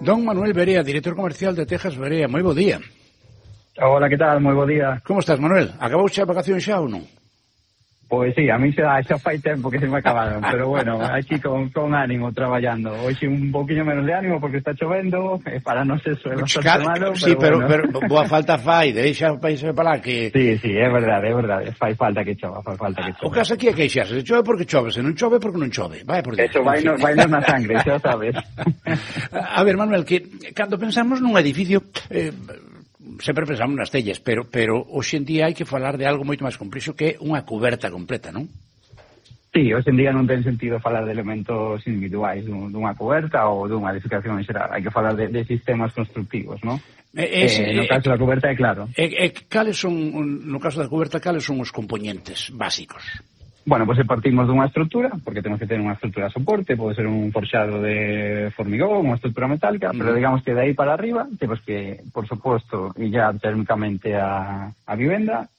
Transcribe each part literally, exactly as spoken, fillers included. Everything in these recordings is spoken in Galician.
Don Manuel Berea, director comercial de Tejas Berea, moi bo día. Hola, que tal? Moi bo día. Como estás, Manuel? Acabouche a vacación xa ou non? Pois sí, a mí xa, xa fai tempo que se me acabaron, pero bueno, aquí con, con ánimo traballando. Hoxe un poquinho menos de ánimo porque está chovendo, eh, para non ser é bastante malo, sí, pero, pero, bueno. pero boa falta fai, deixa o país para lá que... Sí, sí, é verdade, é verdade, fai falta que chova, fai falta que chova. O caso aquí é queixarse, se chove porque chove, se non chove porque non chove, vai por dentro. Eso vai, no, vai nos na sangre, xa sabes. A ver, Manuel, que cando pensamos nun edificio... Eh, sempre pensamos nas tellas, pero pero hoxe en día hai que falar de algo moito máis complexo que é unha cuberta completa, non? Sí, hoxe en día non ten sentido falar de elementos individuais dunha cuberta ou dunha edificación en xeral, hai que falar de, de sistemas constructivos, non? Eh, ese, eh, no caso da cuberta é claro. Eh, eh, cales son, no caso da cuberta, cales son os componentes básicos? Bueno, pois pues partimos dunha estrutura, porque temos que ter unha estrutura de soporte, pode ser un forxado de formigón, unha estrutura metálica, mm. pero digamos que de aí para arriba temos que, por suposto, illar térmicamente a, a vivenda,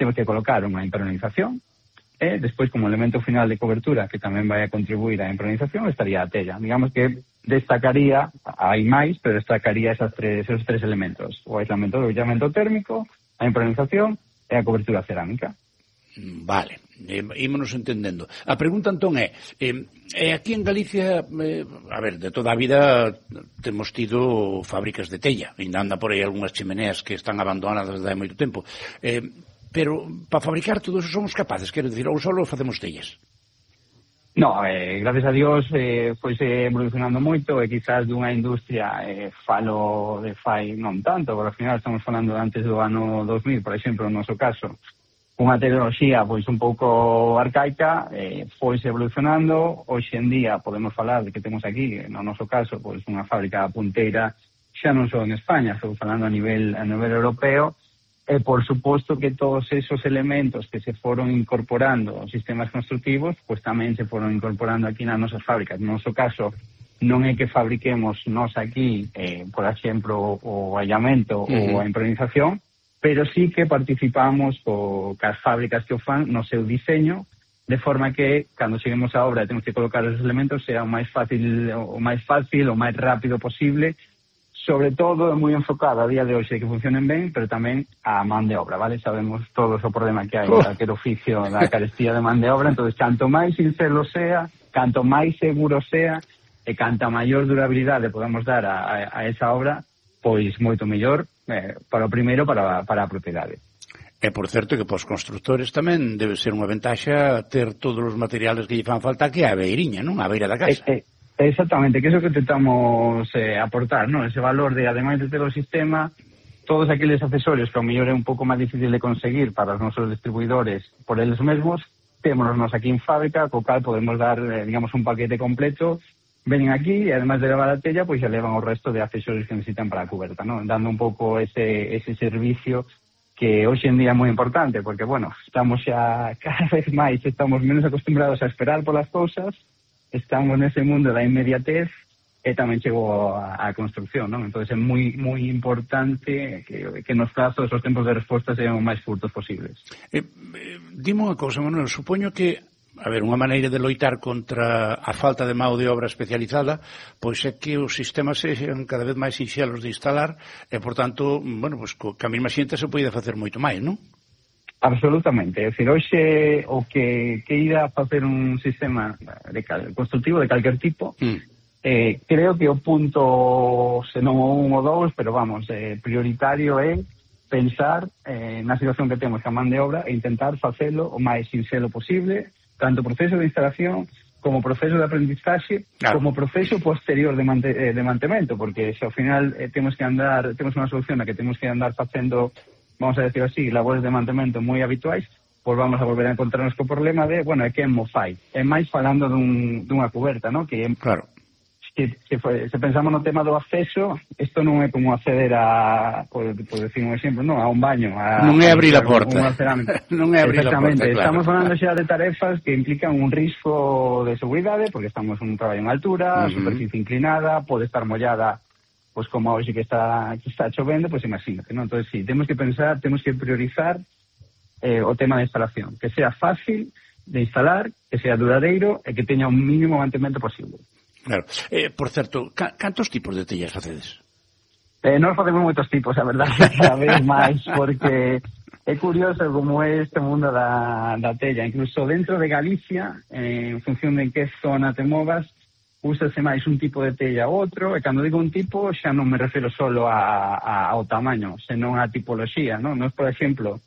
temos que colocar unha impermeabilización, e despois como elemento final de cobertura, que tamén vai a contribuir á impermeabilización, estaría a tella. Digamos que destacaría, hai máis, pero destacaría esas tres, esos tres elementos, o aislamento, o illamento térmico, a impermeabilización e a cobertura cerámica. Vale, eh, ímonos entendendo. A pregunta entón é, eh, eh, aquí en Galicia, eh, a ver, de toda a vida temos tido fábricas de tella, ainda anda por aí algunhas chimeneas que están abandonadas desde hai moito tempo, eh, pero para fabricar todo eso somos capaces, quero dicir, ou só facemos tellas? No, eh, gracias a Dios eh, foi se evolucionando moito e quizás dunha industria eh, falo de fai non tanto, porque ao final estamos falando antes do ano dos mil, por exemplo, no noso caso, unha tecnoloxía pois un pouco arcaica, eh, foise evolucionando. Hoxe en día podemos falar de que temos aquí, no noso caso, pois unha fábrica punteira, xa non só en España, estou falando a nivel a nivel europeo, e por suposto que todos esos elementos que se foron incorporando aos sistemas constructivos, pois tamén se foron incorporando aquí nas nosas fábricas. No noso caso, non é que fabriquemos nós aquí, eh, por exemplo, o aillamento uh-huh. ou a impermeabilización, pero sí que participamos co, cas fábricas que o fan no seu diseño, de forma que, cando cheguemos á obra e temos que colocar os elementos, sea o máis fácil, o máis fácil, o máis rápido posible, sobre todo moi enfocado a día de hoxe que funcionen ben, pero tamén a man de obra, vale? Sabemos todos o problema que hai en calquer oficio da carestía de man de obra, entón, canto máis sincero sea, canto máis seguro sea, e canta maior durabilidade podemos dar a, a, a esa obra, pois moito mellor, eh, para o primeiro, para, para a propiedade. E, por certo, que para os constructores tamén debe ser unha ventaxa ter todos os materiales que lle fan falta que a beiriña, non? A beira da casa. Eh, eh, exactamente, que é iso que tentamos eh, aportar, non? Ese valor de, ademais de ter o sistema, todos aqueles accesorios que ao mellor é un pouco máis difícil de conseguir para os nosos distribuidores por eles mesmos, témonos nos aquí en fábrica, co cal podemos dar, eh, digamos, un paquete completo. Venen aquí e, además de levar a tella, pois xa levan o resto de accesorios que necesitan para a cuberta, ¿no? Dando un pouco ese, ese servicio que hoxe en día é moi importante, porque, bueno, estamos xa cada vez máis, estamos menos acostumbrados a esperar polas cousas, estamos nese mundo da inmediatez e tamén chegou a, a construcción, ¿no? Entón é moi moi importante que, que nos prazos os tempos de resposta sean o máis curtos posibles. Eh, eh, dime unha cousa, Manuel, supoño que a ver, unha maneira de loitar contra a falta de mão de obra especializada, pois é que os sistemas sexan cada vez máis sinxelos de instalar e, por tanto, bueno, pois co, que a mesma xente se pode facer moito máis, non? Absolutamente, é dicir, hoxe o que, que ir a facer un sistema de cal, constructivo de calquer tipo, mm. eh, creo que o punto, se non o un ou dous, pero vamos, eh, prioritario é pensar eh, na situación que temos a man de obra e intentar facelo o máis sinxelo posible, tanto proceso de instalación como proceso de aprendizaxe, claro, como proceso posterior de, mante, eh, de mantemento, porque se ao final eh, temos que andar, temos unha solución na que temos que andar facendo, vamos a decir así, labores de mantemento moi habituais, pois vamos a volver a encontrarnos co problema de, bueno, é que mo fai. É máis falando dun, dunha cuberta, ¿no? Que, claro, que, que foi, se pensamos no tema do acceso, isto non é como acceder a, por, por decir un exemplo, non, a un baño. A, non é abrir a porta. Non é abrir a porta, claro. Estamos falando xa de tarefas que implican un risco de seguridade, porque estamos en un traballo en altura, uh-huh, superficie inclinada, pode estar mollada, pois como hoxe que está que está chovendo, pois imagínate, non? Entón, sí, temos que pensar, temos que priorizar eh, o tema de instalación, que sea fácil de instalar, que sea duradeiro e que teña un mínimo mantemento posible. Claro. Eh, por certo, ca cantos tipos de tellas facedes? Eh, non facemos moitos tipos, a verdade, cada vez máis, porque é curioso como é este mundo da, da tella. Incluso dentro de Galicia, eh, en función de en que zona te movas, úsase máis un tipo de tella ou outro, e cando digo un tipo xa non me refiro solo a, a, ao tamaño, senón a tipoloxía, non? Nos, por exemplo,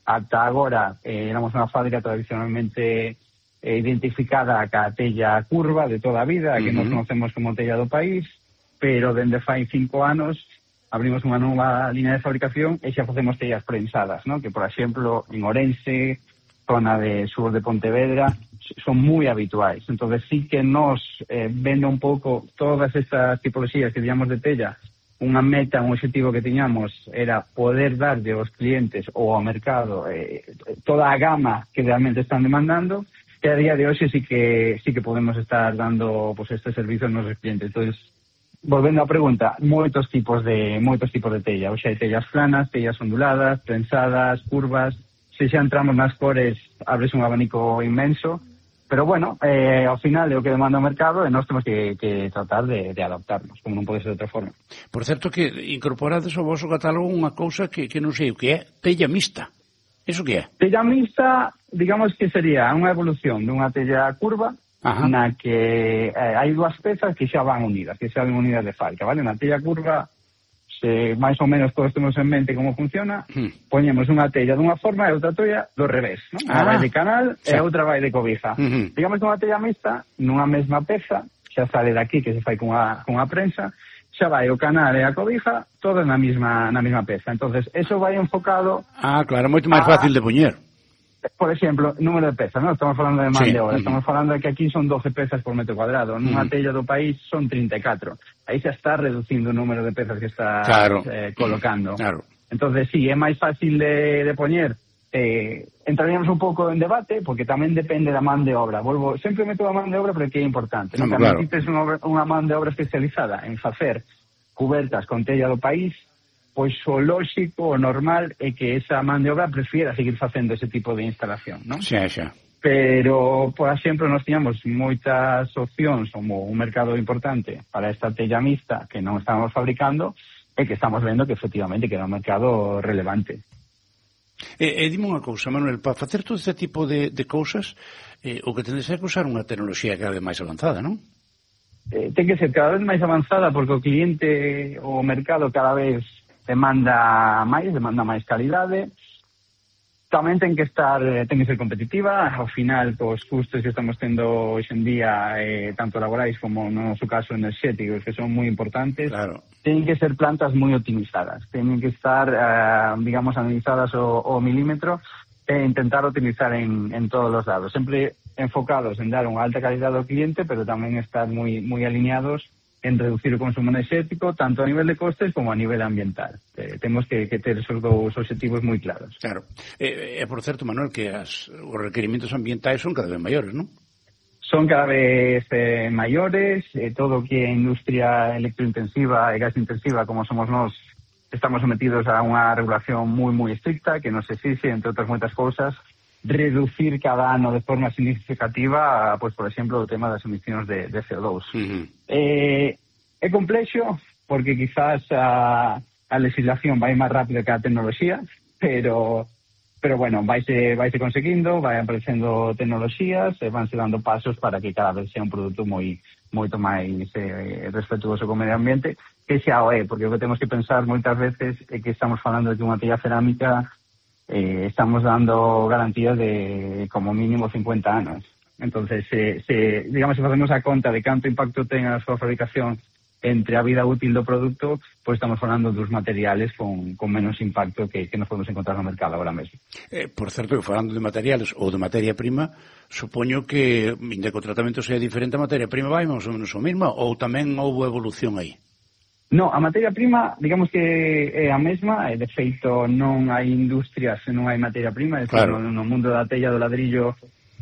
ata agora eh, éramos unha fábrica tradicionalmente eh, identificada ca tella curva de toda a vida, uh-huh. que nos conocemos como tella do país, pero dende fai cinco anos abrimos unha nova línea de fabricación e xa facemos tellas prensadas, non? Que, por exemplo, en Ourense, zona de sur de Pontevedra, son moi habituais. Entonces sí que nos eh, vende un pouco todas estas tipologías que digamos de tella, unha meta, un objetivo que tiñamos era poder darlle aos clientes ou ao mercado eh, toda a gama que realmente están demandando, e a día de hoxe sí que sí que podemos estar dando pues, este servicio aos nosos clientes. Entonces, volvendo á pregunta, moitos tipos de moitos tipos de tella. Hoxe hai tellas planas, tellas onduladas, prensadas, curvas. Se xa entramos nas cores, abres un abanico inmenso, pero bueno, eh, ao final é o que demanda o mercado e nós temos que, que tratar de, de adaptarnos, como non pode ser de outra forma. Por certo que incorporades ao vosso catálogo unha cousa que, que non sei o que é, tella mixta. Iso que é? Tella mixta, digamos que sería unha evolución dunha tella curva, ajá, na que eh, hai dúas pezas que xa van unidas, que xa van unidas de fábrica, vale? Na tella curva, se máis ou menos todos temos en mente como funciona, hmm. poñemos unha tella dunha forma e outra tella do revés, non? Unha ah, vai de canal sí. e outra vai de cobija. Uh-huh. Digamos que unha tella mixta, nunha mesma peza, xa sale daqui que se fai cunha, cunha prensa, xa vai o canal e a cobija, todo na mesma na mesma peza. Entonces, eso vai enfocado... Ah, claro, moito máis a... fácil de poñer. Por exemplo, número de pezas, ¿no? Estamos falando de man sí. de obra. Estamos falando de que aquí son doce pezas por metro cuadrado. Nunha uh-huh. tella do país son trinta e catro. Aí xa está reducindo o número de pezas que está claro. eh, colocando. Claro. Entonces, sí, é máis fácil de, de poñer. Eh, entraríamos un pouco en debate, porque tamén depende da man de obra. Volvo, sempre meto a man de obra porque é importante. No, non? Claro. Necesites unha, unha man de obra especializada en facer cubertas con tella do país, pois o lóxico, o normal, é que esa man de obra prefiera seguir facendo ese tipo de instalación, non? Xa, xa. Pero, por exemplo, nós tiñamos moitas opcións, como un mercado importante para esta tella mixta que non estamos fabricando, e que estamos vendo que efectivamente que era un mercado relevante. E, e dime unha cousa, Manuel, para facer todo este tipo de, de cousas, eh, o que tendes é que usar unha tecnoloxía cada vez máis avanzada, non? Eh, ten que ser cada vez máis avanzada porque o cliente, o mercado cada vez demanda máis, demanda máis calidade. Tamén ten que estar, ten que ser competitiva. Ao final, os custos que estamos tendo hoxe en día, eh, tanto laborais como no noso caso enerxéticos, que son moi importantes, claro. Ten que ser plantas moi optimizadas. Teñen que estar, eh, digamos, analizadas o, o milímetro e intentar utilizar en, en todos os lados. Sempre enfocados en dar unha alta calidade ao cliente, pero tamén estar moi, moi alineados en reducir o consumo enerxético, tanto a nivel de costes como a nivel ambiental. Eh, temos que, que ter esos dous objetivos moi claros. Claro. E, eh, por certo, Manuel, que as, os requerimentos ambientais son cada vez maiores, non? Son cada vez eh, maiores, eh, todo o que é industria electrointensiva e gasintensiva, como somos nós, estamos sometidos a unha regulación moi, moi estricta, que nos exixe, entre outras moitas cousas, reducir cada ano de forma significativa, pues, por exemplo, o tema das emisións de, de C O dos. Uh-huh. Eh, é complexo, porque quizás a, a legislación vai máis rápido que a tecnoloxía, pero, pero bueno, vaise, vaise conseguindo, vai aparecendo tecnoloxías, e vanse dando pasos para que cada vez sea un produto moi moito máis eh, respetuoso co medio ambiente, que xa o é, porque o que temos que pensar moitas veces é que estamos falando de unha tella cerámica. Eh, estamos dando garantías de como mínimo cincuenta anos. Entonces, se, se, digamos, se facemos a conta de canto impacto ten a súa fabricación entre a vida útil do produto, pois estamos falando dos materiales con, con menos impacto que, que nos podemos encontrar no mercado agora mesmo. Eh, por certo, que falando de materiales ou de materia prima, supoño que, inda que o tratamento sea diferente, a materia prima vai máis ou menos o mesmo, ou tamén houve evolución aí? No, a materia prima, digamos que é a mesma, e de feito non hai industria se non hai materia prima, é claro. No, no mundo da tella do ladrillo